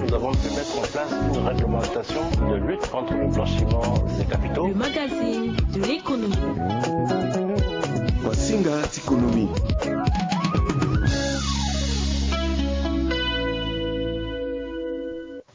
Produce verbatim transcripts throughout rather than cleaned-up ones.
Nous avons pu mettre en place une réglementation de lutte contre le blanchiment des capitaux. Le magazine de l'économie. Masinga ti konomi.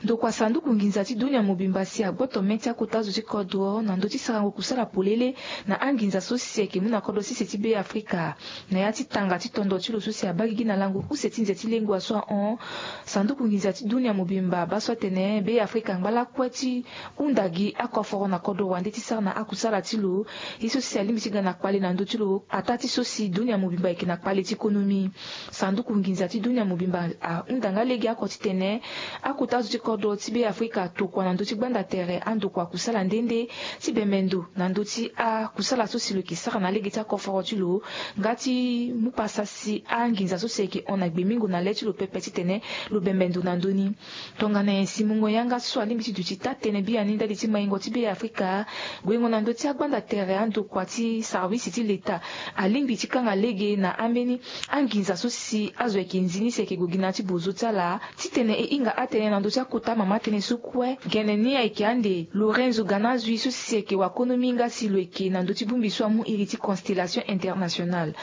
Ndokua sanduku nginza ti dunia mobimba si agboto me ti akota zo ti kodro na ndö ti sarango kusala polele na anginza so si ayeke mu na kodro sese ti Be Afrika. Na ya ti tanga ti tondo ti lo so si abaa gigi na lango use ti nze ti lengua so ahon, sanduku nginza ti dunia mobimba abaa so atene Be Afrika angba lakue ti hunda gi akoforo na kodro wande ti sara na akusala ti lo. Ye so si alingbi ti ga na kpale na ndö ti lo ataa ti so si dunia mobimba ayeke na kpale ti konomi. Sanduku nginza ti dunia mobimba ahunda nga lege oko titene akota zo ti kodro ti Be Afrika atokua na ndö ti gbanda tere andokua kusala nde nde ti bembe ndo na ndö ti akusala so si lo yeke sara na lege ti akoforo ti lo, nga ti mu pasa si anginza so si ayeke hon na gbemingo na le ti lo pepe titene lo bembe ndo na ndö ni. Tongana nyen si mungo yanga so alingbi ti duti taa-tënë biani ndali ti maingo ti Be Afrika? Guengo na ndö ti agbanda tere andokua ti sarwisi ti leta alingbi ti kanga lege na ambeni anginza so si azo ayeke nzi ni si ayeke gue gi na ya ti bozo ti ala titene e hinga atënë na ndö ti akota mama tënë so kue. Gene ni ayeke ande Lorenzo Ganazui so si ayeke wakonomi nga si lo yeke na ndö ti bongbi so amu iri ti Constellation Internationale.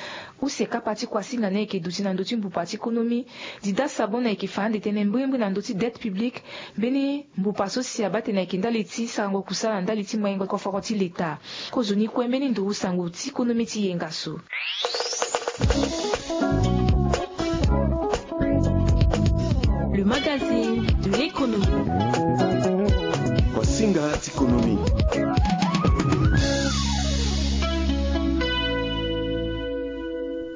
Use kapa ti kuasinga ni ayeke duti na ndö ti mbupa ti konomi. Dida Sabona ayeke fa ande tënë mbirimbiri na ndö ti dette publique, mbeni mbupa so si abaa tene ayeke ndali ti sarango kusala na ndali ti maingo koforo ti leta. Kozoni kue mbeni nduru sango ti konomi ti yenga so. Le magazine de l'économie. Masinga ti konomi.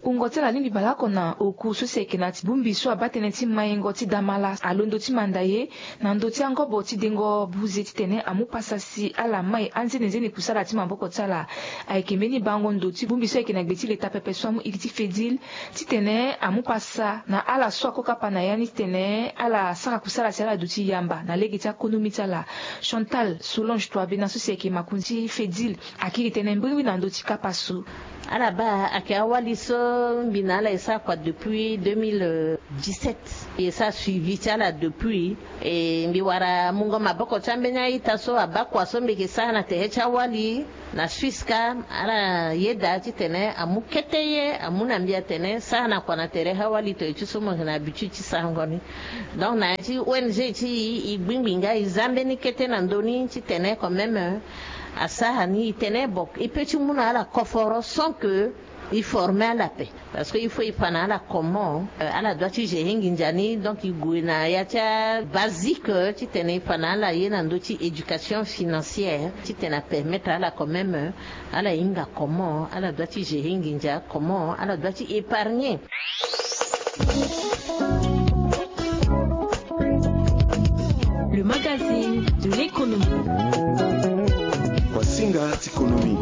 Wungo ti ala alingbi bale oko na oku so si ayeke na ti bongbi so abaa tënë ti maingo ti damala alondo ti manda ye na ndö ti angobo ti dengo buze titene amu pasa si ala mai anzenenzeni kusala ti maboko ti ala. Ayeke mbeni bango ndo ti bongbi so ayeke na gbe ti leta pepe so amu iri ti Fedil titene amu pasa na ala so ako kapa na ya ni titene ala sara kusala si ala duti yamba na lege ti akonomi ti ala. Chantal Solange Touabena so si ayeke makonzi ti Fedil akiri tënë mbirimbiri na ndö ti kapa so. Ala baa ayeke awali so mbi na ala e sara kua depuis deux mille dix-sept. E sara suivi ti ala depuis. E mbi wara mungo maboko ti ambeni a-ita so abaa kua so mbi yeke sara na tere ti awali na Suisse kâ. Ala yeda titene amu kete ye amu na mbi atene sara na kua na tere awali toyo ti so mo yeke na habitude ti sarango ni. Donc na ya ti O N G ti e, e gbingbi nga e za mbeni kete na ndö ni titene quand même asara ni e tene bon e peut ti mu na ala koforo sans que e former ala ape. Parce que il faut e fa na ala comment, euh, ala doit ti gérer nginza ni. Donc e gue na ya ti abasique, euh, titene e fa na ala ye na ndö ti éducation financière titene apermettre ala quand même, euh, ala hinga comment ala doit ti gérer nginza, comment ala doit ti épargner. Le magazine de l'économie. Kuasinga ti konomi.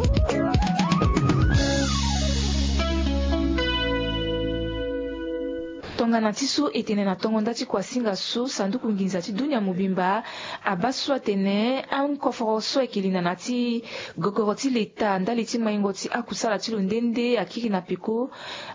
Tongana ti so e tene na tongo nda ti kuasinga so, sanduku nginza ti dunia mobimba abaa so atene akoforo so ayeke linda na ti gogoro ti leta ndali ti maingo ti akusala ti lo nde nde akiri na peko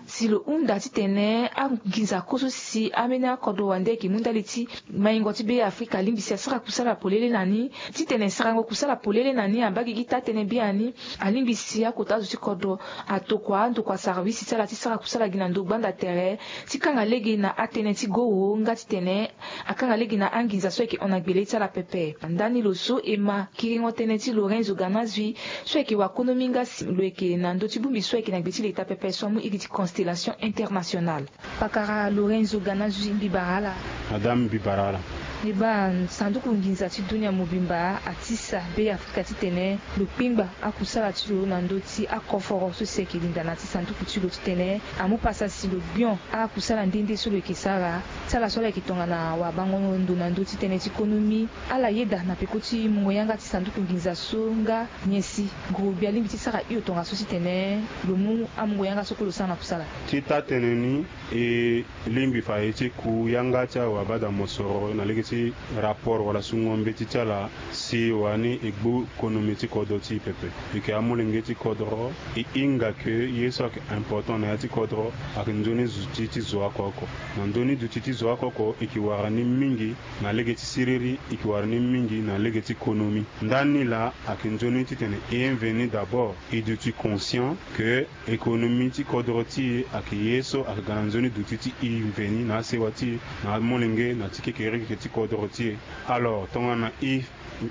si lo hunda titene anginza kue so si ambeni akodro wande ayeke mu ndali ti maingo ti Be Afrika alingbi si asara kusala polele na ni. Titene sarango kusala polele na ni abaa gigi taa-tënë biani, alingbi si akota azo ti kodro atokua andokua sarwisi ti ala ti sara kusala gi na ndo gbanda tere ti kanga lege na atënë ti goro nga titene akanga lege na anginza so ayeke hon na gbele ti ala pepe. Ndani lo so e ma kiringo tënë ti Lorenzo Ganazui so ayeke wakonomi nga si lo yeke na ndö ti bongbi so ayeke na gbe ti leta pepe so amu iri ti Constellation Internationale. Pakara Lorenzo Ganazui, mbi bara ala. Madame, mbi bara ala. Mbi baa, sanduku nginza ti dunia mobimba atisa Be Afrika titene lo kpengba akusala ti lo na ndö ti akoforo so si ayeke linda na ti sanduku ti lo titene amu pasa si lo gbion akusala nde nde so lo yeke sara ti ala so ala yeke tongana wabango ndo na ndö ti tënë ti konomi. Ala yeda na peko ti mungo yanga ti sanduku nginza so nga nyen si guru gbia alingbi ti sara hio tongaso titene lo mu amungo yanga so kue lo sara na kusala. Ti taa-tënë ni, e lingbi fa e ti ku yanga ti awabada mosoro na lege ti rapport wala sungo mbeti ti ala si wani e gbu konomi ti kodro ti e pepe. E yeke amolenge ti kodro, e hinga ke ye so ayeke important na ya ti kodro ayeke nzoni duti ti zo oko oko. Na ndö ni duti ti zo oko oko e yeke wara ni mingi na lege ti siriri, e yeke wara ni mingi na lege ti konomi. Ndani laa ayeke nzoni titene e mveni d'abord e duti conscient ke économie ti kodro ti e ayeke ye so ayeke ga na nzoni duti ti e mveni na asewa ti e, na amolenge, na ti kekereke ti kodro ti e. Alors tongana e,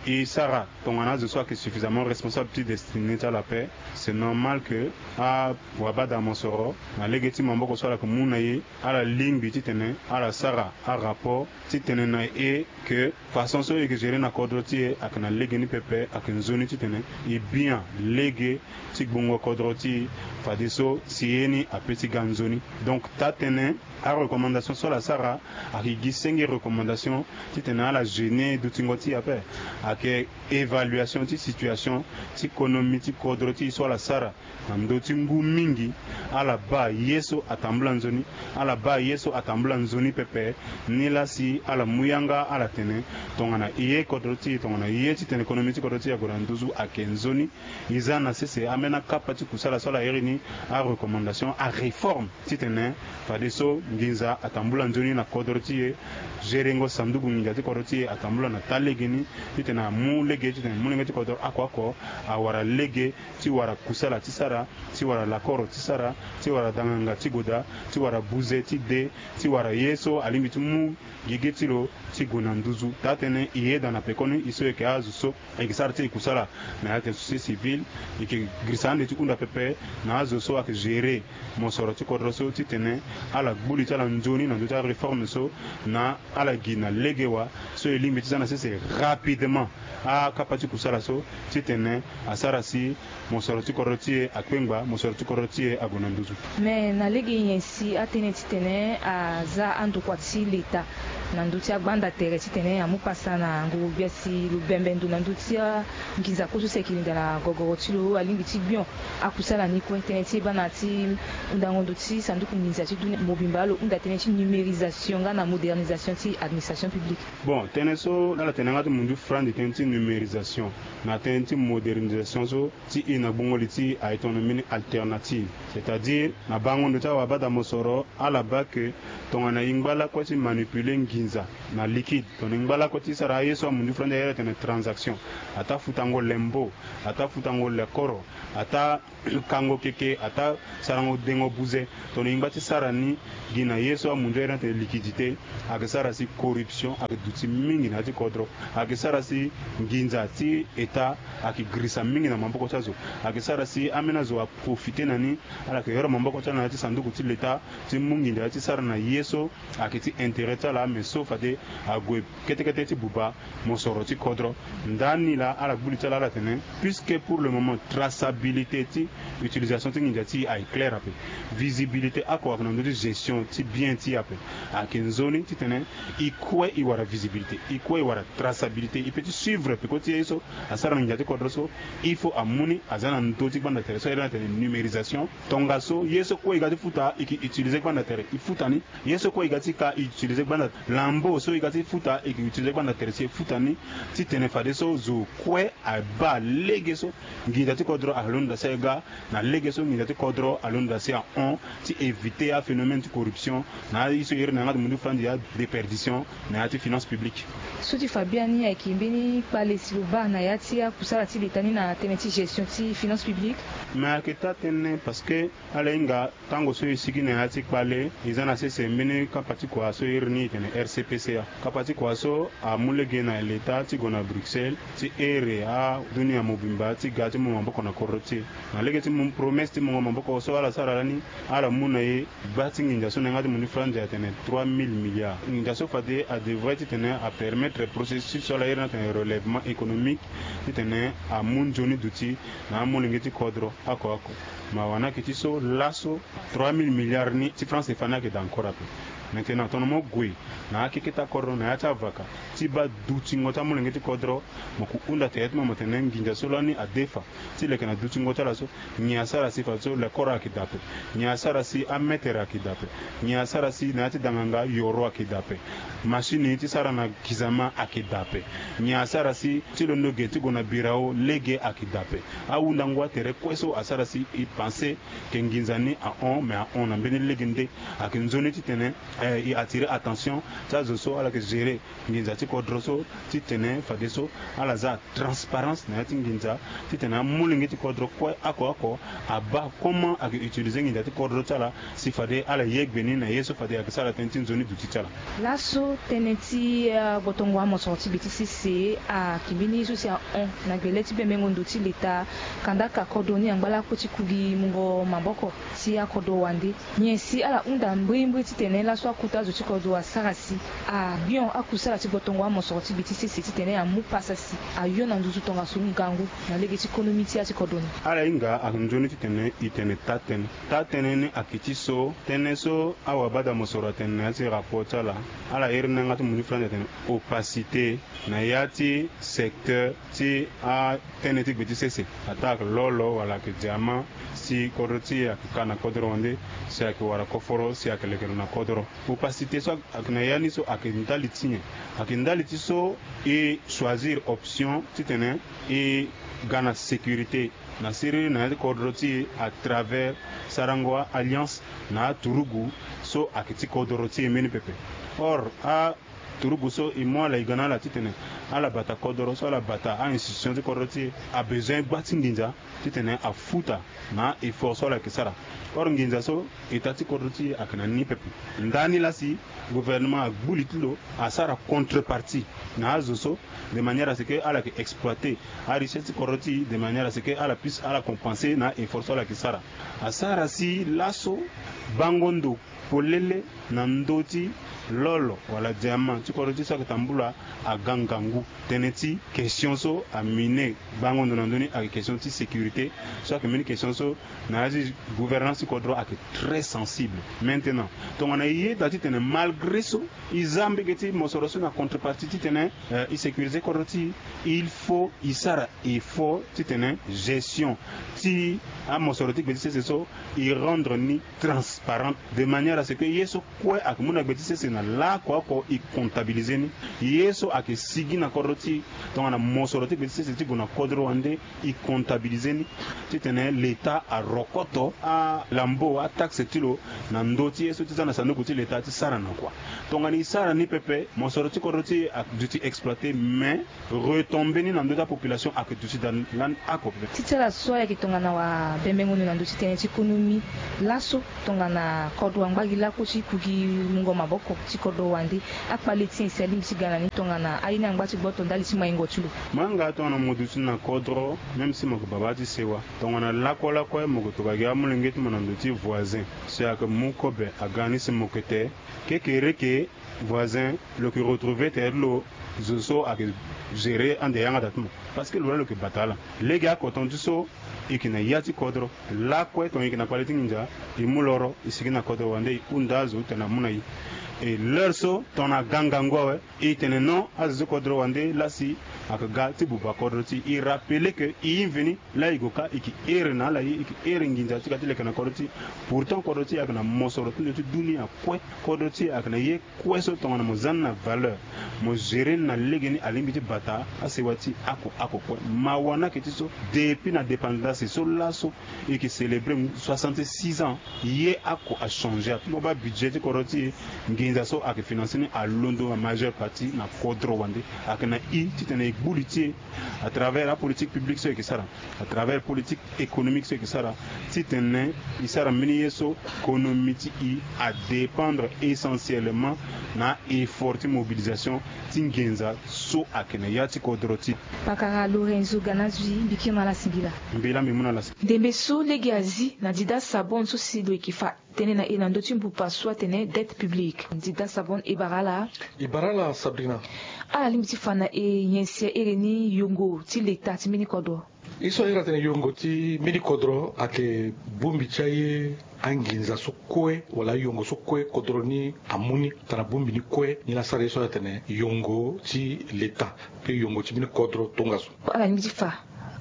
e sara tongana azo so ayeke suffisamment responsable ti destiné ti ala ape, c'est normal ke awabada mosoro na lege ti maboko so ala yeke mu na e, ala lingbi titene ala sara arapport titene na e ke façon so e yeke gérer na kodro ti e ayeke na lege ni pepe, ayeke nzoni titene e bian lege ti gbungo kodro ti e. Fadeso si ye ni ape ti ga nzoni. Donc taa-tënë, arecommandation so ala sara ayeke gi senge recommandation titene ala gêner dutingo ti e ape. Ayeke évaluation ti situation ti konomi ti kodro ti e so ala sara na ndö ti ngu mingi. Ala baa ye so atambula nzoni, ala baa ye so atambula nzoni pepe. Nilaa si ala mu yanga ala tene tongana e ye kodro ti e, tongana e ye titene konomi ti kodro ti e ague na nduzu, ayeke nzoni. E za na sese ambeni akapa ti kusala so ala iri ni arecommandation, aréforme, titene fadeso nginza atambula nzoni na kodro ti e. Gerengo sanduku nginza ti kodro ti e atambula na taa lege ni, titene amu lege titene molenge ti kodro oko oko awara lege ti wara kusala ti sara, ti wara lakoro ti sara, ti wara danganga ti goda, ti wara buze ti de, ti wara ye so alingbi ti mu gigi ti lo ti gue na nduzu. Taa-tënë, e yeda na pekoni e so e yeke azo so e yeke sara ti e kusala na ya tene société civile, e yeke girisa ande ti hunda pepe na azo so ayeke gérer mosoro ti kodro so titene ala gbu li ti ala nzoni na ndö ti aréforme so, na ala gi na lege wa so e lingbi ti za na sese rapidement akapa ti kusala so titene asara si mosoro ti kodro ti e akpengba, mosoro ti kodro ti e ague na nduzu. Mais na lege nyen si atënë titene aza andokua ti leta na ndö ti agbanda tere titene amu pasa na nguru gbia si lo bembe ndo na ndö ti anginza kue so si ayeke linda na gogoro ti lo, alingbi ti gbion akusala ni kue? Tënë ti e baa na ya ti hundango ndo ti sanduku nginza ti dunia mobimba, lo hunda tënë ti numérisation nga na modernisation ti administration publique. Bon, tënë so ala tene yanga ti mundu frandi tënë ti numérisation na tënë ti modernisation so, ti e na gbungo li ti e aye tongana mbeni alternative. C'est-à-dire na bango ndo ti awabada mosoro, ala baa ke tongana e ngba lakue ti manipuler nginza na liquide, tongana e ngba lakue ti sara aye so amundu frandi aye ala tene transaction, ataa futango lembo, ataa futango lakoro, ataa kango keke, ataa sarango dengo buze, tongana e ngba ti sara ni gi na ye so amundu airi ni atene liquidité, ayeke sara si corruption ayeke duti mingi na ya ti kodro. Ayeke sara si nginza ti État ayeke girisa mingi na maboko ti azo. Ayeke sara si ambeni azo aprofite na ni, ala yeke yoro maboko ti ala na ya ti sanduku ti leta ti mu nginza ti sara na ye so ayeke ti intérêt ti ala, mais so fade ague kete kete ti buba mosoro ti kodro. Ndani laa ala gbu li ti ala, ala tene, puisque pour le moment traçabilité ti utilisation ti nginza ti e aye claire ape, visibilité oko ayeke na ndö ti gestion ti bien ti e ape, ayeke nzoni titene e kue e wara visibilité, e kue e wara traçabilité, e peut ti suivre peko ti ye so asara na nginza ti kodro so. Il faut amu ni aza na ndö ti gbanda tere so airi ni atene numérisation. Tongaso ye so kue e ga ti futa e yeke utiliser gbanda tere e futa ni. Ye so kue e ga ti ka e utiliser gbanda, lambo so e ga ti futa e yeke utiliser gbanda tere si e futa ni, titene fadeso zo kue abaa lege so nginza ti kodro alondo si aga, na lege so nginza ti kodro alondo si ahon, ti éviter aphénomène ti corruption na aye so e iri na yanga ti mundu frandi adéperdition na ya ti finance publique. So ti fa biani ayeke mbeni kpale si lo baa na ya ti akusala ti leta ni na tënë ti gestion ti finance publique. Mais ayeke taa-tënë, parce que ala hinga tango so e sigi na ya ti kpale, e za na sese mbeni kapa ti kua so e iri ni e tene R C P C A. Kapa ti kua so amu lege na leta ti gue na Bruxelles ti ere adunia mobimba ti ga ti mu maboko na kodro ti e. Na lege ti mu promesse ti mungo maboko so ala sara lani, ala mu na e gba ti nginza so na yanga ti mundu frandi atene trois mille milliards. Nginza so fade adevrait titene apermettre processus so ala iri ni atene relèvement économique titene amu nzoni duti na amolenge ti kodro oko oko. Mawa ni ayeke ti so laso trois mille milliards ni ti franc CFA ni ayeke daa encore ape. Maintenant tongana mo gue na akeketa kodro na ya ti avaka ti baa dutingo ti amolenge ti kodro, mo ku hunda tere ti mo mo tene nginza so lani adefa ti leke na dutingo ti ala so. Nyen asara si fadeso lekoro ayeke daa ape? Nyen asara si ametere ayeke daa ape? Nyen asara si na ya ti danganga yoro ayeke daa ape? Machine ti sara na kizama ayeke daa ape? Nyen asara si ti londo ge ti gue na birao lege ayeke daa ape? Ahundango atere kue so asara si e pense ke nginza ni ahon, mais ahon na mbeni lege nde. Ayeke nzoni titene e attire attention ti azo so ala yeke gérer nginza ti kodro so, titene fadeso ala za transparence na ya ti nginza, titene amolenge ti kodro kue oko oko abaa comment ayeke utiliser nginza ti kodro ti ala, si fade ala ye gbe ni na ye so fade ayeke sara tënë ti nzoni duti ti ala. Laso tënë ti agbotongo amosoro ti gbe ti sese ayeke mbeni ye so si ahon na gbele ti bembengo ndo ti leta, kandaka kodro ni angba lakue ti ku gi mungo maboko ti akodro wande. Nyen si ala hunda mbrimbri titene laso akota azo ti kodro asara si abion akusala ti gbotongo amosoro ti gbe ti sese titene amu pasa si ayo na nduzu tongaso ngangu na lege ti konomi ti ya ti kodro ni? Ala hinga ayeke nzoni titene e tene taa tënë. Taa tënë ni ayeke ti so tënë so awabada mosoro atene na ya ti rapport ti ala. Ala iri ni na yanga ti mundu ti fade atene opacité na ya ti secteur ti atënë ti gbe ti sese, ataa ayeke lolo wala ayeke diamant, si kodro ti e ayeke ka na kodro wande, si ayeke wara koforo, si ayeke leke lo na kodro. Opacité so ayeke na ya ni so ayeke ndali ti nyen? Ayeke ndali ti so e choisir option titene e ga na sécurité na siriri na ya ti kodro ti e à travers sarango alliance na aturugu so ayeke ti kodro ti e mbeni pepe. Or a turugu so e mu ala e ga na ala titene ala bata kodro so ala bata a-institution ti kodro ti e abezoin gba ti nginza titene afuta na effort so ala yeke sara. Or nginza so eta ti kodro ti e ayeke na ni pepe. Ndani lasi gouvernement agbu li ti lo asara contrepartie na azo so, de manière à ce que ala yeke exploiter arichesse ti kodro ti e, de manière à ce que ala puisse ala compenser na effort so ala yeke sara. Asara si laso bango ndo polele na ndö ti lolo wala diamant ti kodro ti e so ayeke tambula aga ngangu. Tënë ti question so amine bango ndo na ndö ni ayeke question ti sécurité, so ayeke mbeni question so na ya ti gouvernance ti kodro ayeke très sensible. Maintenant tongana e yeda titene malgré so e za mbege ti mosoro so na contrepartie titene e sécuriser kodro ti e, il faut e sara effort titene gestion ti amosoro ti gbe ti sese so e rendre ni transparente, de manière à ce que ye so kue ayeke mu na gbe ti sese na laoko oko e comptabiliser ni. Ye so ayeke sigi na kodro ti e tongana mosoro ti gbe ti sese ti gue na kodro wande, e comptabiliser ni titene leta arokoto alambo ataxe ti lo na ndö ti ye so ti za na sanduku ti leta ti sara na kua. Tongana e sara ni pepe, mosoro ti kodro ti e aduti exploiter, mais retomber ni na ndö ti apopulation ayeke duti daa lani oko pepe. Ti ti ala so ayeke tongana wabembengo ni na ndö ti tënë ti konomi, laso tongana kodro angba gi lakue ti ku gi mungo maboko ti kodro wande, akpale ti nyen si alingbi ti ga na ni tongana aye ni angba ti gboto ndali ti maingo ti lo? Mo yanga tongana mo duti na kodro, même si mo yeke baba ti sewa, tongana lakue lakue mo yeke toka gi amolenge ti mo na ndo ti voisin, si ayeke mu kobe aga ni si mo yeke te. Kekereke voisin, lo yeke retrouver tere ti lo zo so ayeke gérer ande yanga daa ti mo, parce que lo laa lo yeke bata ala. Lege akoton ti so e yeke na ya ti kodro. Lakue tongana e yeke na kpale ti nginza, e mu loro e sigi na kodro wande, e hunda azo titene amu na e. E l'heure so tongana aga ngangu awe, e tene non, azo ti kodro wande lasi ayeke ga ti buba kodro ti e. E rappeler que e inveni laa e gue ka e yeke here na ala ye, e yeke here nginza ti ga ti leke na kodro ti e. Pourtant kodro ti e ayeke na mosoro ti ndo ti dunia kue. Kodro ti e ayeke na ye kue so tongana mo za ni na valeur, mo gérer ni na legeni, alingbi ti bata asewa ti e oko oko kue. Mawa ni ayeke ti so, depuis na dépendance so laso e yeke célébrer soixante-six ans, ye oko achanger ape. Mo baa budget ti kodro ti e, nginza so ayeke financer ni alondo na majeure partie na kodro wande. Ayeke na e titene e gbu li ti e à travers apolitique publique so e yeke sara, à travers politique économique so e yeke sara, titene e sara mbeni ye so konomi ti e adépendre essentiellement na effort ti mobilisation ti nginza so ayeke na ya ti kodro ti e. Pakara Lorenzo Ganazui, mbi kiri na ala singila. Mbi laa mbi mu na ala singila. Ndembe so lege azi na Dida Sabon so si lo yeke fa tënë na e na ndö ti mbupa so atene dette publique. Dida Sabon, e bara ala. E bara ala Sabrina. Ala lingbi ti fa na e nyen si ahere ni yongo ti leta ti mbeni kodro? Ye so ahere atene yongo ti mbeni kodro ayeke bongbi ti aye Anginza so kue wala ayongo so kue kodro ni amu ni, tana bongbi ni kue ni la asara ye so atene yongo ti leta pe yongo ti mbeni kodro tongaso. Ala lingbi ti fa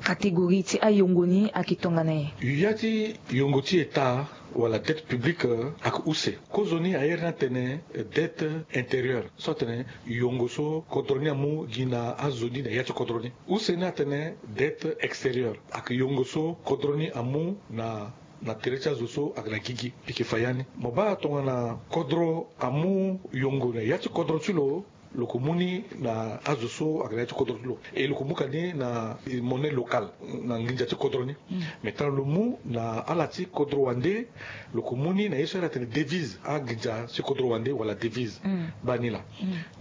catégorie ti ayongo ni ayeke tongana nyen? Ya ti yongo ti état wala dette publique ayeke use. Kozoni aye ni atene dette intérieure so atene yongo so kodro ni amu gi na azo ni na ya ti kodro ni. Use ni atene dette extérieure ayeke yongo so kodro ni amu na na tere ti azo so ayeke na gigi. Mbi yeke fa ya ni mo baa tongana kodro amu yongo na ya ti kodro ti lo, lo yeke mu ni na azo so ayeke na ya ti kodro ti lo, e lo yeke mu ka ni na monnaie locale na nginza ti kodro ni. Mais tana lo mu na ala ti kodro wande, lo yeke mu ni na ye so ala tene devise, anginza ti kodro wande wala devise. Baa ni laa.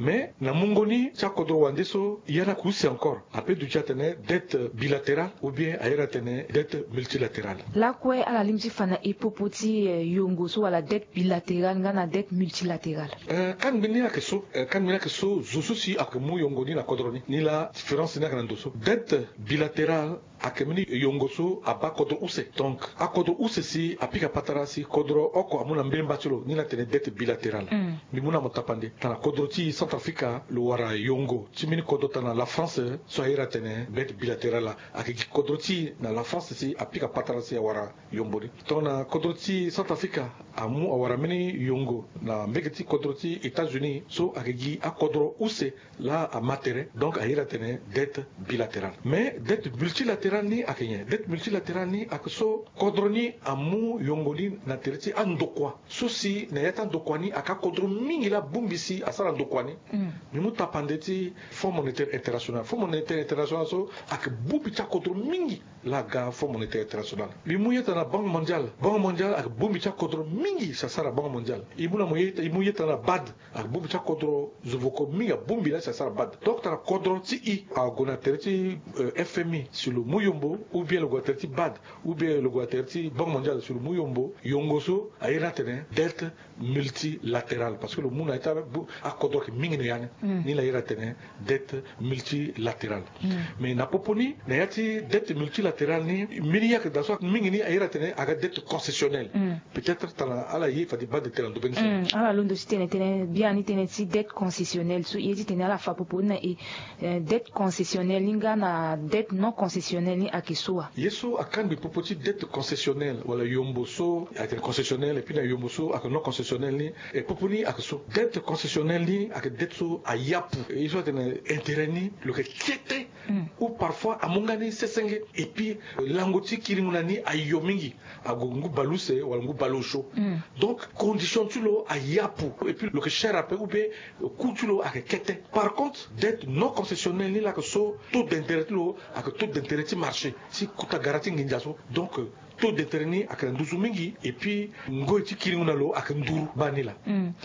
Mais na mungo ni ti akodro wande so, ya ni ayeke use encore. Ape duti atene dette bilatérale ou bien aye ni atene dette multilatérale. Lakue ala lingbi ti fa na e popo ti yongo so wala dette bilatérale nga na dette multilatérale? Kangbi ni ayeke so, kangbi ni ayeke so, zo so si ayeke mu yongo ni na kodro ni, ni la différence ni ayeke na ndo so. Dette bilatérale ayeke mbeni yongo so abaa kodro use. Donc akodro use si apika patara si kodro oko amu na mbemba ti lo, ni la atene dette bilatérale. Mbi mu na mo tapande tana kodro ti Centrafrique lo wara yongo ti mbeni kodro tana la France so aye ni atene dette bilatérale. Ayeke gi kodro ti na la France si apika patara si awara yongo ni. Tongana kodro ti Centrafrique amu awara mbeni yongo na mbege ti kodro ti États-Unis so ayeke gi akodro use la ama tere, donc aye ni atene dette bilatérale. Mais dette multilatérale ni ayeke nyen? Dette multilatérale ni ayeke so kodro ni amu yongo ni na tere ti andokua so si na ya ti andokua ni ayeke akodro mingi la abongbi si asara ndokua ni. Mbi mu tapande ti Fonds monétaire international. Fonds monétaire international so ayeke bongbi ti akodro mingi la aga Fonds monétaire international. Mbi mu ye tana Banque mondiale. Banque mondiale ayeke bongbi ti akodro mingi si asara Banque mondiale. E mu na mo ye, e mu ye tana BAD. Abongbi ti akodro zo voko mingi abongbi la si asara BAD. Donc tana kodro ti e ague na tere ti F M I si lo mu yombo, ou bien lo gue na tere ti BAD, ou bien lo gue na tere ti Banque mondiale si lo mu yombo, yongo so aye ni atene dette multilatérale, parce que lo mu na ya ti akodro ayeke mingi na ya ni. Ni la aye ni atene dette multilatérale. Mais na popo ni, na ya ti dette multilatérale ni, mbeni ye ayeke daa so ayeke mingi ni aye ni atene aga dette concessionnelle. Peut-être tana ala ye fade baa de tene na ndobeni so. Ala londo ti tene tënë biani tënë ti dette concessionnelle so e ye ti tene ala fa popo ni na e. Dette concessionnelle ni nga na dette non concessionnelle ni ayeke so wa? Ye so akangbi popo ti dette concessionnelle wala yombo so ayeke concessionnelle, et puis na yombo so ayeke non concessionnelle ni, e popo ni ayeke so. Dette concessionnelle ni ayeke dette so ayapu, ye so atene intérêt ni lo yeke kete ou parfois amu nga ni sesenge, et puis lango ti kiringo na ni ayo mingi, ague ngu baleuse wala ngu baleosio. Donc condition ti lo ayapu, et puis lo yeke cher ape, ou bien coût ti lo ayeke kete. Par contre dette non concessionnelle ni la ayeke so taux d'intérêt ti lo ayeke taux d'intérêt ti marché ti kota gara ti nginza so. Donc taux d'intérêt ni ayeke na nduzu mingi, et puis ngoi ti kiringo na lo ayeke nduru. Baa ni laa.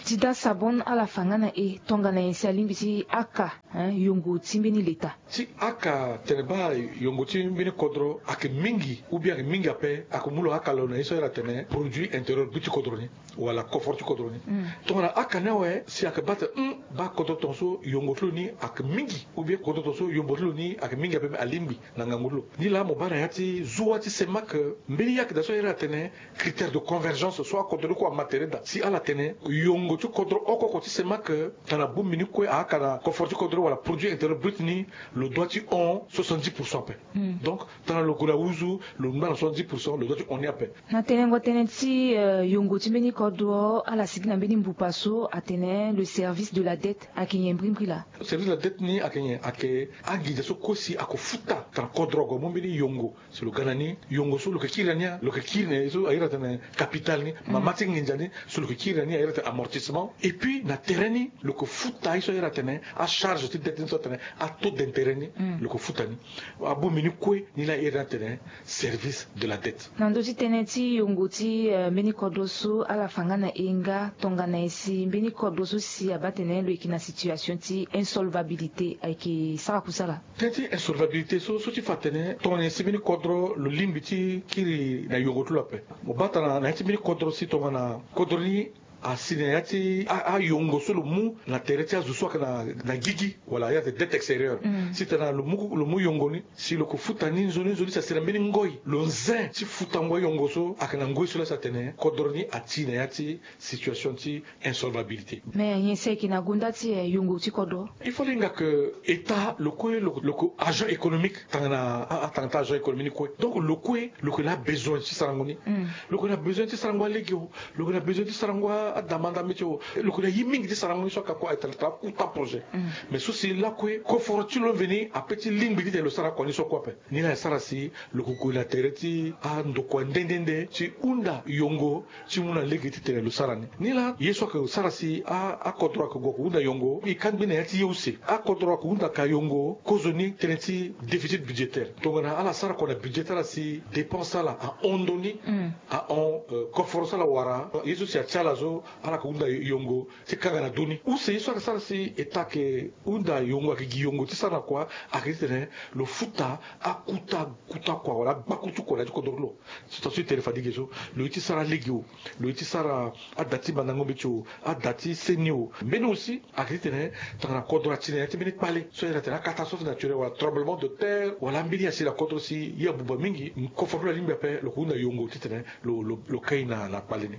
Ti daa sabon ala fa nga na e tongana nyen si alingbi ti aka yongo ti mbeni leta? Ti aka tene baa yongo ti mbeni kodro ayeke mingi, ou bien ayeke mingi ape, ayeke mu lo aka lo na ye so aye ni atene produit intérieur brut ti kodro ni wala kofor ti kodro ni. Tongana aka ni awe si ayeke baa tene hum, baa kodro tongaso yongo ti lo ni ayeke mingi, ou bien kodro tongaso yombo ti lo ni ayeke mingi ape, me alingbi na ngangu ti lo. Ni laa mo baa na ya ti zuwa ti CEMAC, mbeni ye ayeke daa so aye ni atene critère de convergence so akodro ni kue ama tere daa si ala tene yongo ti kodro oko oko ti CEMAC, tana bongbi ni kue aaka na kofor ti kodro wala produit intérieur brut ni, lo doit ti hon soixante-dix pour cent ape. Donc tana lo gue na nduzu, lo ngba na soixante-dix pour cent, lo doit ti hon ni ape. Na tenengo tënë ti yongo ti mbeni kodro, ala sigi na mbeni mbupa so atene le service de la dette, ayeke nyen mbrimbri laa? Service de la dette ni ayeke nyen? Ayeke anginza so kue si ako futa tana kodro ague amu mbeni yongo. Si lo ga na ni, yongo so lo yeke kiri na ni, lo yeke kiri na ye so aye ni atene capital ni, mama ti nginza ni, so lo yeke kiri na ni aye ni atene amortissement. Et puis na tere ni lo yeke futa ye so aye ni atene acharge ti dette ni so atene ataux d'intérêt ni, lo yeke futa ni. Abongbi ni kue ni la aye ni atene service de la dette. Na ndö ti tënë ti yongo ti mbeni kodro so, ala fa nga na e nga tongana nyen si mbeni kodro so si abaa tene lo yeke na situation ti insolvabilité ayeke sara kusala? Tënë ti insolvabilité so, so ti fa atene tongana nyen si mbeni kodro lo lingbi ti kiri na yongo ti lo ape. Mo baa tana na ya ti mbeni kodro si tongana kodro ni asi na ya ti a- ayongo so lo mu na tere ti azo so ayeke na na gigi, wala ya ti dette extérieure. Si tena lo mu lo mu yongo ni, si lo ko futa ni nzoni nzoni si asi na mbeni ngoi, lo zen ti futango ayongo so ayeke na ngoi so laa si atene kodro ni ati na ya ti situation ti insolvabilité. Mais nyen si ayeke na gonda ti eh, yongo ti kodro? Il faut linga que état lo kue lo lo ko agent économique tanga na a- a- tanga ti agent économique ni kue. Donc lo kue lo ko na besoin ti sarango ni. Lo ko na besoin ti sarango alege o, lo ko na besoin ti sarango a- adamanda mbeti o, lo ko na ye mingi ti sarango ni so aka kue ayeke tara akuta projet. Mais so si lakue koforo ti lo mveni ape ti lingbi titene lo sara kua ni so kue ape. Ni laa e sara si lo ko gue na tere ti andokua nde nde nde ti hunda yongo ti mu na lege titene lo sara ni. Ni laa ye so ayeke sara si a- akodro ayeke gue ako hunda yongo, e kangbi na ya ti ye use. Akodro ayeke hunda ka yongo kozoni tënë ti déficit budgétaire. Tongana ala sara kua na budget ti ala si dépense ti ala ahon ndo ni, ahon euh, koforo so ala wara, ye so si atia ala so ala yeke hunda yongo ti kanga na ndo ni. Use ye so ayeke sara si état ayeke hunda yongo, ayeke gi yongo ti sara na kua, ayeke titene lo futa akuta kuta kua wala agbaku ti kua na ya ti kodro ti lo. So taa so e tene fade e ge so, lo ye ti sara alege o, lo ye ti sara ada ti mandango mbeti o, ada ti seni o. Mbeni aussi ayeke titene tongana kodro ati na ya ti mbeni kpale so a iri atene acatastrophe naturelle wala tremblement de terre wala ambeni asi na kodro si ye abuba mingi, koforo ti lo alingbi ape, lo ko hunda yongo titene lo lo lo kai na na kpale ni.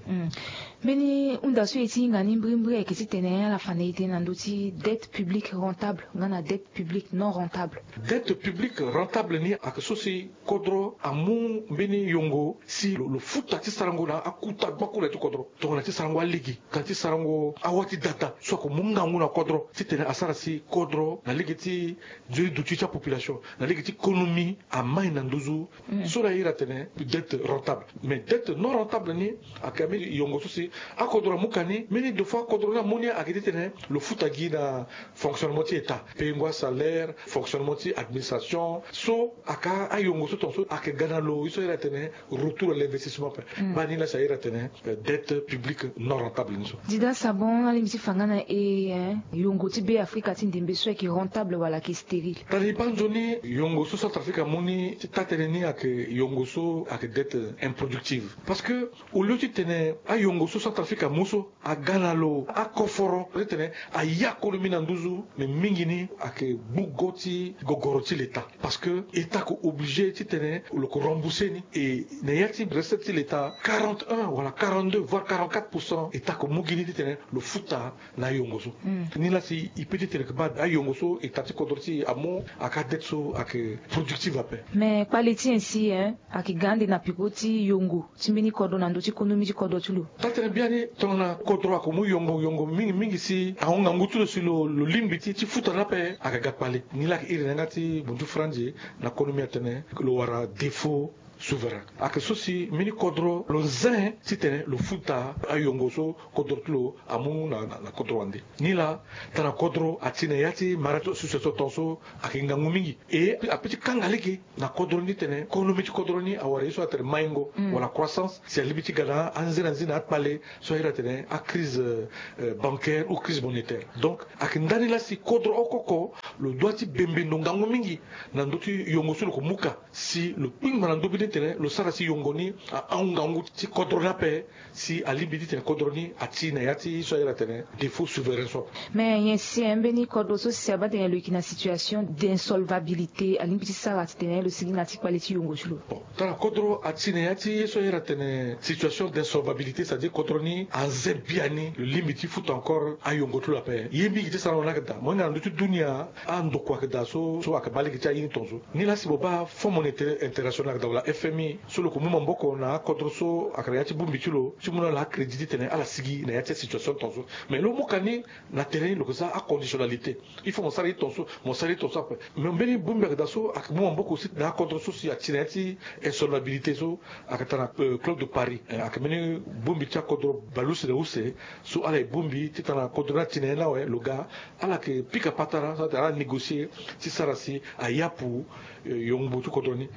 Mbeni hunda so e ti hinga ni mbirimbiri ayeke titene ala fa na e tënë na ndö ti dette publique rentable nga na dette publique non rentable. Dette publique rentable ni ayeke so si kodro amu mbeni yongo si lo lo futa ti sarango na akuta gbakula ti kodro, tongana ti sarango alege, tongana ti sarango awa ti dada so ako mu ngangu na kodro titene asara si kodro na lege ti nzoni duti ti apopulation, na lege ti konomi amai na nduzu. So la iri atene dette rentable. Mais dette non rentable ni ayeke ambeni yongo so si akodro amu ka ni, mbeni deux fois akodro ni amu ni ayeke titene lo futa gi na fonctionnement ti état, payengo asalaire, fonctionnement ti administration. So ayeke ayongo so tongaso ayeke ga na lo ye so a iri atene retour à l'investissement ape. Baa ni laa si a iri atene euh, dette publique non rentable ni so. Dida Sabon, alingbi ti fa nga na e eh, yongo ti Be Afrika ti ndembe so ayeke rentable wala ayeke stérile? Tali baa nzoni yongo so Centrafrique amu ni ti taa tënë ni ayeke yongo so ayeke dette improductive. Parce que au lieu titene ayongo so Centrafrique amu so aga na lo akoforo titene aya konomi na nduzu, mais mingi ni ayeke gbu go ti gogoro ti l'état. Parce que état ko obligé titene lo ko rembourser ni. Et na ya ti recette ti l'état, quarante et un wala quarante-deux voire quarante-quatre pour cent état ko mu gi ni titene lo futa na ayongo so. Ni laa si e peut titene ke baa ayongo so état ti kodro ti e amu, ayeke adette so ayeke productive ape. Mais kpale ti e si eh, ayeke ga ande na peko ti yongo ti mbeni kodro na ndö ti konomi ti kodro ti lo. Taa tënë biani, tongana kodro ako mu yongo yongo mingi mingi si ahon ngangu ti lo si lo lo lingbi ti ti futa ni ape, ayeke ga kpale. Ni laa ayeke iri na yanga ti bondu franzi na konomi atene lo wara défaut souverain. Ayeke so si mbeni kodro lo zen titene lo futa ayongo so kodro ti lo amu na na na kodro wande. Ni laa tongana kodro ati na ya ti mara ti association tongaso ayeke ngangu mingi. E ape ti kanga lege na kodro ni titene konomi ti kodro ni awara ye so atene maingo wala croissance, si alingbi ti ga na anzena nzena akpale so a iri atene acrise euh, bancaire ou crise monétaire. Donc ayeke ndani laa si kodro oko oko lo dua ti bembe ndo ngangu mingi na ndö ti yongo so lo ko mu ka, si lo kpingba na ndö bi ni titene lo sara si yongo ni ahon ngangu ti kodro ni ape, si alingbi titene kodro ni ati na ya ti so a iri atene défaut souverain so. Mais nyen si eh, mbeni kodro so si abaa tene lo yeke na situation d'insolvabilité, alingbi ti sara titene lo sigi na ya ti kpale ti yongo ti lo? Bon, tongana kodro ati na ya ti ye so a iri atene situation d'insolvabilité, c'est-à-dire kodro ni aze biani lo lingbi ti futa encore ayongo ti lo ape, ye mingi ti sarango ni ayeke daa. Mo hinga na ndö ti dunia andokua ayeke daa so so ayeke baa lege ti aye ni tongaso. Ni laa si mo baa Fonds monétaire international ayeke daa wala F M I, so lo ko mu maboko na akodro so ayeke na ya ti bongbi ti lo ti mu na ala acrédit titene ala sigi na ya ti asituation tongaso. Mais lo mu ka ni na tere ni lo yeke za aconditionnalité. Il faut mo sara ye tongaso, mo sara ye tongaso ape. Mais mbeni bongbi ayeke daa so ayeke mu maboko aussi na akodro so si ati na ya ti insolvabilité so ayeke tara na euh, club de Paris. Eh, ayeke mbeni bongbi ti akodro baleuse na use so ala ye bongbi ti tara na kodro ni ati na ya ni awe, lo ga ala yeke pika patara so atene ala négocier ti sara si ayapu eh, yongbo ti kodro ni.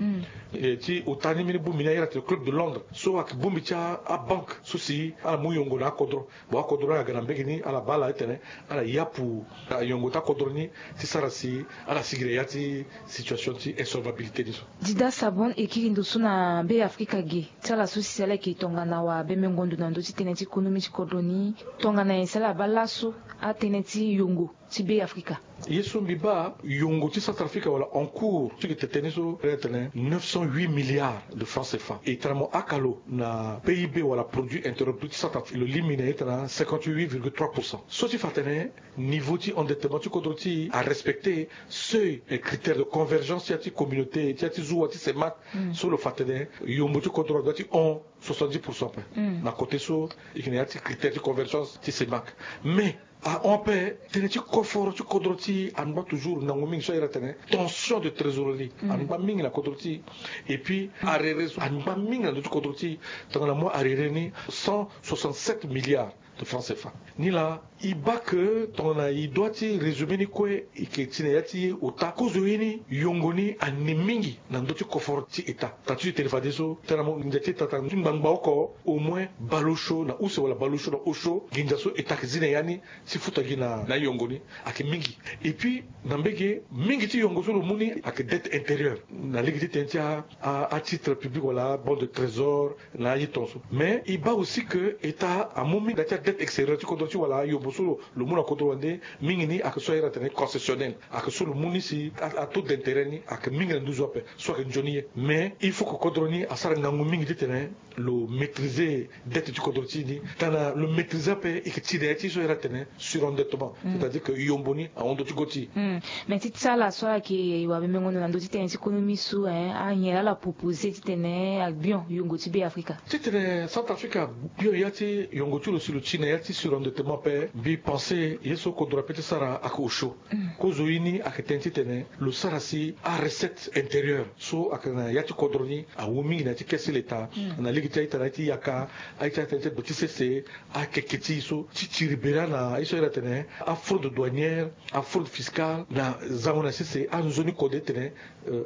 Eh, ti Ota ni mbeni bongbi ni ayeke tene Club de Londres so ayeke bongbi ti abanke so si ala mu yongo na akodro. Bon, akodro ni aga na mbege ni ala baa ala ti tene ala yapu ayongo ti akodro ni ti sara si ala sigi na ya ti situation ti insolvabilité ni so. Dida Sabon e kiri ndo so na Be Afrika ge ti ala so si ala yeke tongana wabembengo ndo na ndö ti tënë ti konomi ti kodro ni, tongana nyen si ala baa laso atënë ti yongo ti Be Afrika? Ye so mbi baa, yongo ti Centrafrique wala encours ti yeke tene so, ala tene neuf cent huit milliards de francs C F A. E tene mo aka lo na P I B wala produit intérieur brut ti Centrafrique, lo lingbi na ye tene cinquante-huit virgule trois pour cent. So ti fa atene niveau ti endettement ti kodro ti e arespecté seuil et critère de convergence ti ya ti communauté, ti ya ti zuwa ti CEMAC. So lo fa atene yombo ti kodro adoit ti hon soixante-dix pour cent ape. Na côté so e yeke na ya ti critère ti convergence ti CEMAC. Mais ahon ape, tënë ti koforo ti kodro ti e angba toujours ngangu mingi so ayeke tene tension de trésorerie angba mingi na kodro ti e. Et puis arrerer so angba mingi na ndö ti kodro ti e. Tongana mo arrerer ni cent soixante-sept milliards de francs C F A. Ni laa e baa ke tongana e doit ti résumé ni kue, e yeke ti na ya ti ota kozo ye ni, yongo ni ane mingi na ndö ti koforo ti État. Tata ti e tene fadeso tongana mo nginza ti État ti ngbangba oko, au moins baleosio na use wala baleosio na osio nginza so État ayeke zi na ya ni ti futa gi na na yongo ni ayeke mingi. Et puis na mbege mingi ti yongo so lo mu ni ayeke dette intérieure na lege ti tënë ti a a titre public wala a bon de trésor na aye tongaso. Mais e baa aussi ke État amu mingi na ya ti adette extérieure ti kodro ti e wala ayombo so lo mu na kodro wande, mingi ni ayeke so ayeke tene concessionnaire, ayeke so lo mu ni si a taux d'intérêt ni ayeke mingi na nduzu ape. So ayeke nzoni ye, mais il faut ke kodro ni asara ngangu mingi ti tene lo maîtriser dette ti kodro ti e ni. Tongana lo maîtriser ape, e yeke ti na ya ti so ayeke tene surendettement, c'est-à-dire ke yombo ni ahon ndö ti go ti e. Mais ti ti ala so ayeke wabembengo ndo na ndö ti tënë ti konomi so, eh, anyen laa ala proposé ti tene agbion yongo ti Be Afrika? Ti tene Centrafrique agbion ya ti yongo ti lo si lo ti na ya ti surendettement ape, mbi pensé ye so kodro ape ti sara ayeke osio. Kozo ye ni ayeke tene ti tene lo sara si arecette intérieure so ayeke na ya ti kodro ni awu mingi na ya ti caisse ti l'État, na lege ti a-ita na ya ti yaka, a-ita na ya ti ndo ti sese, akeke ti e so ti tiri be laa na ye so ayeke tene afraude douanière, afraude fiscale na zango na sese, anzoni kode ti tene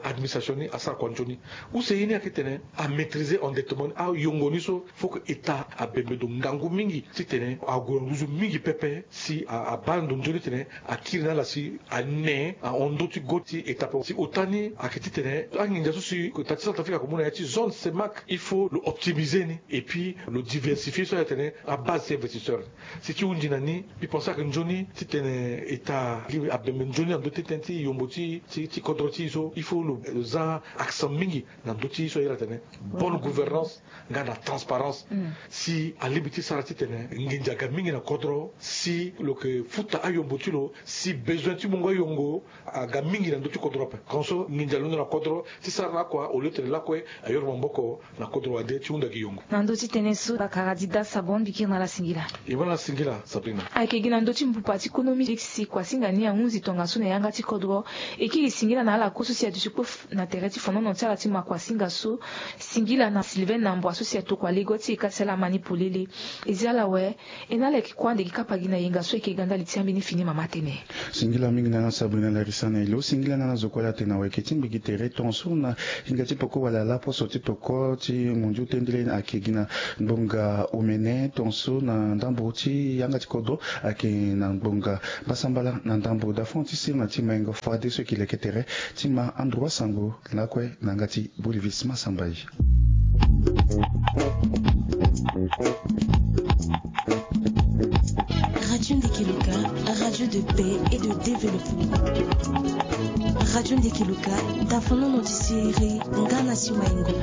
administration ni asara kua nzoni. Use ye ni ayeke tene amaîtriser endettement ni, ayongo ni so faut que État abembe ndo ngangu mingi ti tene ague na nduzu mingi pepe si abaa ndo nzoni ti tene akiri na ala si ane ahon ndö ti go ti État ape. Si ota ni ayeke ti tene anginza so si État ti Centrafrique ayeke mu na ya ti zone CEMAC, il faut lo optimiser ni et puis lo diversifier so ayeke tene abase ti investisseur. Si ti hunzi na ni, mbi pensé ayeke nzoni ti tene État abembe nzoni na ndö ti tënë ti yombo ti ti ti kodro ti e so, il faut lo za accent mingi na ndö ti so ayeke tene bonne gouvernance nga na transparence. Si alingbi ti sara ti tene nginza aga mingi na kodro, si lo yeke futa ayombo ti lo, si besoin ti mungo ayongo aga mingi na ndö ti kodro ape. Kono so nginza alondo na kodro ti sara lakue, au lieu ti tene lakue ayoro maboko na kodro wande ti hunda gi yongo. Na ndö ti tënë so, Bakara Dida Sabon, mbi kiri na ala singila. E ma na ala singila, Sabrina. Ayeke gi na ndö ti mbupa ti konomi Félix Kuasinga ni ahunzi tongaso na yanga ti kodro. E kiri singila na ala kue so si aduti kue na tere ti fonono ti ala ti ma Kuasinga so. Singila na Sylvain Nambua so si atokua lego ti e ka ti ala ma ni polele. E zi ala awe. E na ala yeke kue ande gi kapa gi na yenga so e yeke ga ndali ti ambeni fini mama tënë. Singila mingi na ala Sabrina Larisa na e lo. Singila na ala zo kue ala tene na weke ti mbi gi tere tongaso na hinga ti peko wala laposo ti peko ti mondio tendele ayeke gi na ngbonga omene tongaso na ndambo ti yanga ti kodro ayeke na ngbonga mbasambala na ndambo dafon ti sirna ti mayengo fadeso e yeke leke tere ti ma androit sango lakue na yanga ti Bolivis Massamba ye. Radio Ndeke Loka, radio de paix et de développement. Radio Ndeke Loka, dafonono ti siriri nga na si mayengo.